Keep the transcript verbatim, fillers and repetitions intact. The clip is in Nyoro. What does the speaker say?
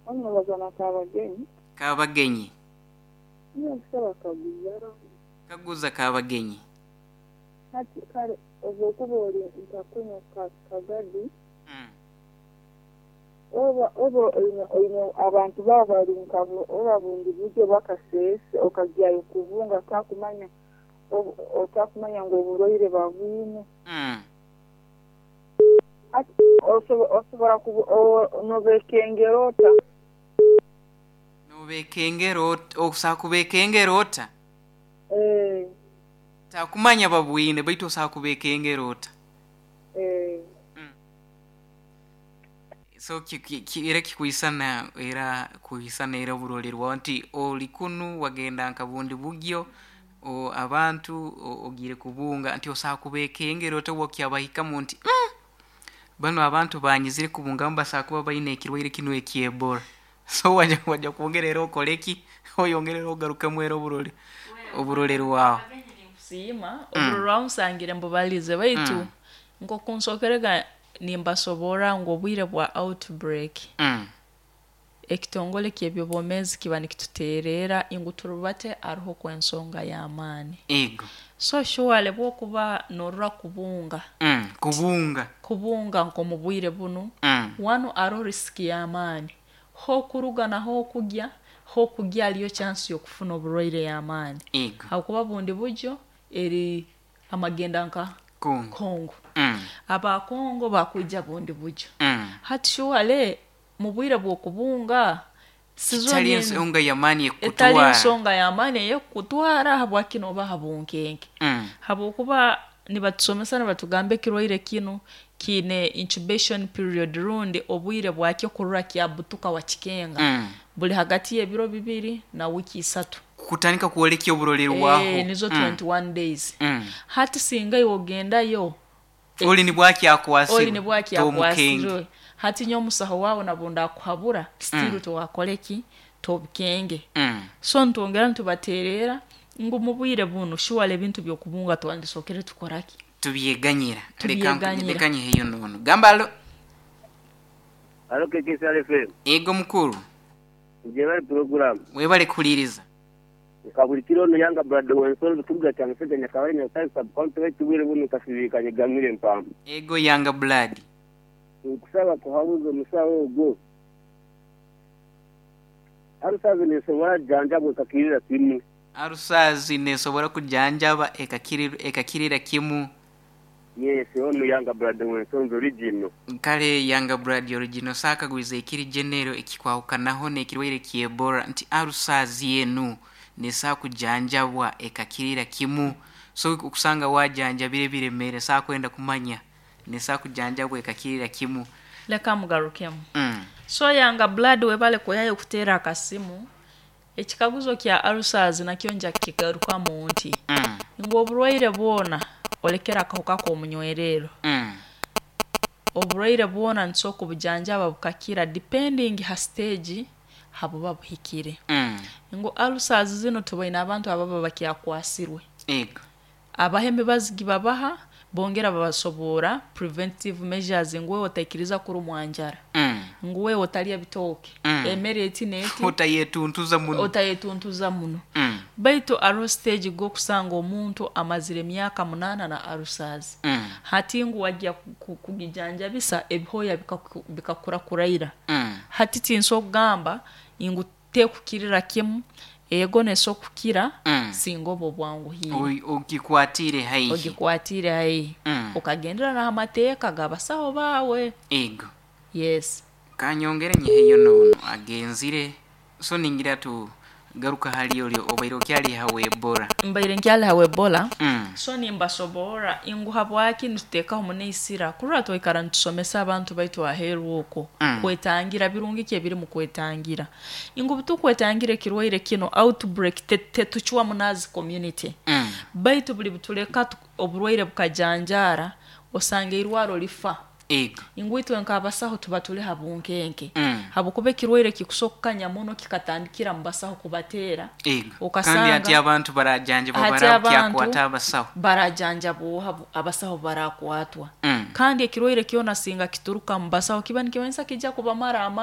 Omubaza na Kabagenyi. Kabagenyi. Niyo nkusaba kaguza. Kaguza Kabagenyi. Hati kale obu oli nka kuno Kagadi. Mm. Oba oba oine abantu baba bari nka oba bundi buryo bakasese okagyayo kubunga takumanya otakumanya ngu oburwaire babwine. Mm. Ati osobora nobekengera ota? Nobekengera ota, okusobola kubekengera ota? Eh. Takumanya babwine baitu osobola kubekengera ota? Eh. Mm. So era kikwisana era kuisana era oburorerwaho nti oli kunu wagenda nka bundi bugyo o abantu ogiire kubunga nti osobola kubekengera ota obu nti mm, banu abantu banyizire kubungamu basobola kuba baine ekirwaire kinu eky'Ebola. So wajja wajja kwongera era okoreki oyongere era ogarukemu era oburore oburorerwaho. Nkusiima oburorwaho nsangire mbubalize baitu Mm. nk'oku nsokerega nimbasoborra ngu obwire bwa outbreak Mm. ekitongole ky'ebyobwomeezi kiba nikituteerera ngu turubate aroho kw'ensonga y'amaani. Ego. So surely bw'okuba norora kubunga Mm. Kubunga. Kubunga nk'omu bwire bunu Mm. wanu aroho risk y'amaani h'okuruga na h'okugya h'okugya hariyo chance y'okufuna oburwaire y'amaani Ego. habwokuba bundi buryo eri amagenda nka Kongo. Kongo. Mm. Aba Kongo bakwija bundi buryo. Mm. Hati surely mu bwire bw'okubunga Kitali ensonga y'amaani etali ekukutwara. ensonga y'amaani ey'ekukutwara habwaki nooba ha bunkenke. Mm. Habwokuba nibatusomesa nibatugamba ekirwaire kinu kiine incubation period rundi obwire bwakyo kurora kyabutuka wakikenga Mm. buli hagati y'ebiro bibiri na wiki isatu. Kutandika kwoleka oburorerwaho. Eh, nizo Mm. twenty-one days. Mm. Hati singa iwe ogendayo oli nibwakyakwasirwe oli nibwakyakwasirwe hati nyo omusaho wawe nabunda akuhabura still mm. towakoreki tobukenge. Mm. So ntwongera nitubaterera ngu mu bwire bunu surely ebintu by'okubunga twandisokere tukoraki tubyeganyira. Tubyeganyira. Leka nyiheyo nono gamba alo. Alo K K S R F M. Ego mukuru. Njebale program. Webale kuhuliriza. Kabulikiro ono yanga brother wensolo tukuga kya Museveni akabali Nyagatare sub county wetubwire bunu kasibikanye gamire mpamvu. Ego yanga blood. Nkusaba kuhabuza omusawo ogwo. Arusazi nesobora janjabwa ekakirira kimu. Arusazi nesobora kujanjaba ekakirira ekakirira kimu. Yes, ono yanga blood wensonzo original. Kale yanga blood original saka gwize ekiri genero ekikwahukanaho n'ekirwaire ky'Ebola nti arusazi yenu nesa kujanjabwa ekakirira kimu. So okusanga wajanjabire biremere saa kwenda kumanya nesa kujanjabwa ekakirira kimu. Leka mugarukemu. Mm. So yanga blood webale kuyayo kuteera akasimu ekikaguzo kya arusazi nakyo nja kigarukamu nti Mm. ngu oburwaire bwona olekera akahuka k'omunywerero. Mm. Oburwaire bwona nitusobola kubujanjaba bukakira depending ha stage habuba buhikire. Mm. Ngu ulcers zino tubaine abantu ababa bakyakwasirwe. Ego. Abaha emibazi gibabaha bongera babasobora preventive measures ngu wewe otaikiriza kurumwa njara. Mm. Ngu wewe otalya bitooke. Mm. Emere eti n'eti. Otayetuntuza muno. Otayetuntuza muno. Mm. Baitu aroho stage g'okusanga omuntu amazire emyaka munaana na ulcers. Mm. Hati ngu wajya kugijanjabisa ebihooya bikakura kuraira. Mm. Hati tinsobola kugamba ngu tekukirira kimu ego nesobola kukira Mm. singa oba obwanguhiire. Ogikwatire haihi. Ogikwatire haihi. Mm. Okagendera n'amateeka g'abasaho baawe. Ego. Yes. Kanyongere nyiheyo nono agenzire so ningira tu garuka hali oli obaire okyali hawe Ebola. Mbaire nkyali hawe Ebola. Mm. So nimbasoborra ngu habwaki nituteekaho muno kurora twikara nitusomesa abantu baitu aheeru okwo Mm. kwetangira birungi ki ebiri mu kwetangira ngu butukwetangira ekirwaire kino outbreak tetucwa munazi community. Mm. Baitu buli butuleka oburwaire bukajanjaara osanga irwaro lifa. Ego. Ngu itwe nk'abasaho tuba tuli ha bunkenke. Mm. Habwokuba ekirwaire kikusookukanya muno kikatandikira mu basaho kubateera. Ego. Okasanga kandi ati abantu barajanjabwa hati abantu barakyakwata abasaho. Barajanjabwa abasaho barakwatwa. Mm. Kandi ekirwaire kyona singa kituruka mu basaho kiba nikimanyisa kijja kubamara amaani.